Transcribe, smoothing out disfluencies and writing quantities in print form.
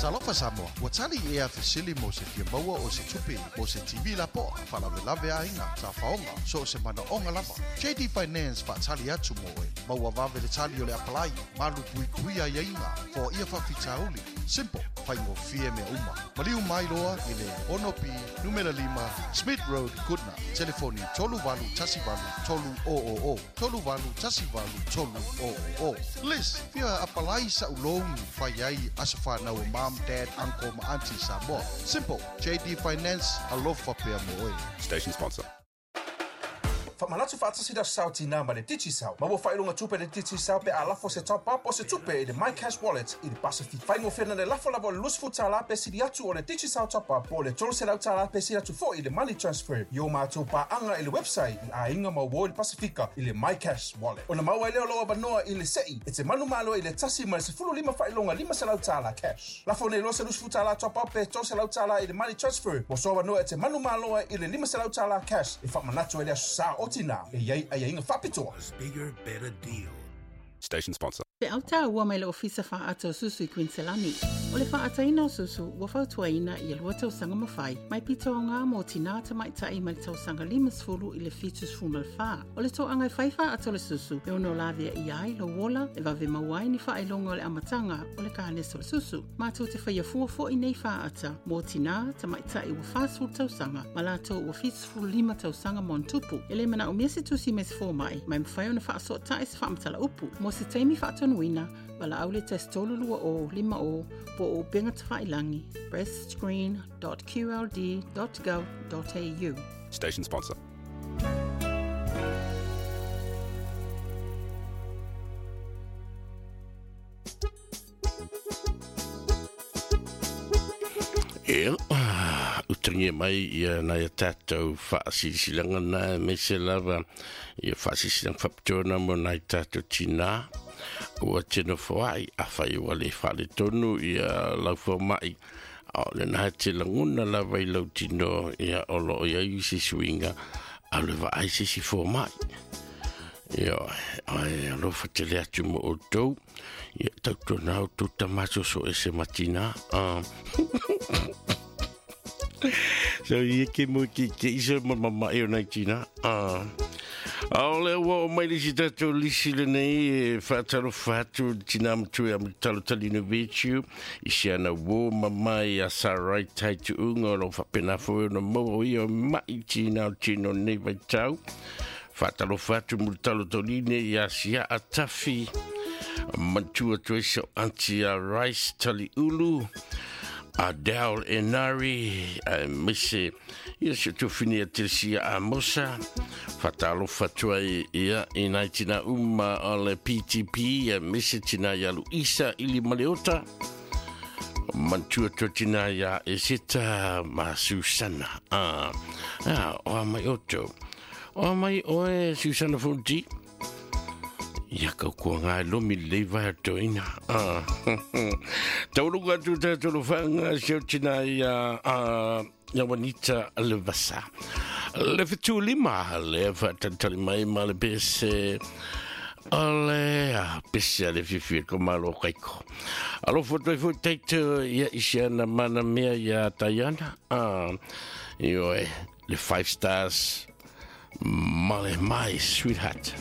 Talofa Samoa, ua tali ea fesili mo se fia maua o se tupe mo se TV lapoa, faalavelave aiga, saofaoga, so o se manaoga lava. JD Finance faatali atu mo oe. Maua vave le tali o le apalai, malu puipuia aiaiga, foaia faafitauli. Simple, faigofie mea uma. Maliu mai loa i le 6B numera 5 Smith Road, Goodna. Telefoni 3818 300 3818 300. Liz, fia apalai sa'u loan fai ai aso fanau o mom, dad, uncle ma auntie Samoa. Simple, JD Finance, alofa pea mo oe. Station sponsor. Faamanatu faatasi le Aso Sa o Tinā ma le Digicel. Maua faailoga tupe i le Digicel pe a lafo se top up o se tupe i le MyCash Wallet i le Pasifika. Faigofie na le lafo lava o le $20 pe sili atu o le Digicel Top Up po o le $300 pe sili atu foi i le Money Transfer i o matou paaga i le website i aiga ma uo i le Pasifika i le MyCash Wallet. Ona maua ai lea o lou avanoa i le se'i e te manumalo ai i le 1 ma le 15 faailoga $500 cash. Lafo nei loa se $20 top up pe $300 i le money transfer mo sou avanoa e te manumalo ai i le $500 cash e faamanatu ai le Aso Sa o Tinā e i ai aiaiga faapitoa. Bigger, better deal. Station sponsor. Feau taua mai le Ofisa Faaata o Susu i Kuiniselani. O le faaataina o susu ua fautuaina ia 2 tausaga ma fai, mai pito aoga mo tinā tamaitai mai le tausaga 50 i le 74. O le toaga e fai faaata o le susu e ono laveaia ai lou ola e vave maua ai ni faailoga o le amataga o le kanesa o le susu. Matou te faia fua foi nei faata mo tinā tamaitai ua 40 tausaga ma latou ua 75 tausaga ma ona tupu. E le manaomia se tusi mai se fomai, ma e mafai ona faasootai se faamatala upu. Mo se taimi faatonuina, valaau le 1 3 20 5 0 po o upega tafailagi breastscreen.qld.gov.au. Station sponsor. Ia, utagia mai ia nai a tatou faasilasilaga na aemaise lava ia faasilasilaga faapitoa na mo nai tatou tinā ua te nofoaʻi. Afai ua le faaletonu ia lau fomaʻi, o lena e te lagona lava i lau tino ia o loo iai se suiga a le vaai se isi fomaʻi. Ia, ai alofa tele atu mo outou. Ia tautuana outou tama soso ese ma tinā. So ia ke mo ke ke isa ma mama e o nai tina. A o le ua o mai le si tatou lisi lenei e faatalofa atu tina matua ia Talotali Vichu i si ana uō mamae ia Sarai Taituuga o lo faapena foi ona maua o ia ma'i tina o tino nei vaitau. Faatalofa atu mo le talotoline ia Siaa Tafi matua atu ai sau aunty a Rice Taliulu a Dal Enari aemaise ia si o tuafine a Telesia Amosa. Faatalofa atu ai ia i nai tina uma o le PTP aemaise tina ia Luisa ili Maleota matua atu tina ia Eseta ma Susana. O a mai outou o a mai oe Susana Fonti ia kau kua ngā lomi lei vai toina. Tauluga atu tātou whanga se o tina ia ia Juanita Levasa. Le 75 le whaatantali mai ma le pese o le pese a le fifi ko malo kaiko. Alo foto i fo teito ia isi ana mana mea ia Tayana. Io e le Five Stars male my sweetheart.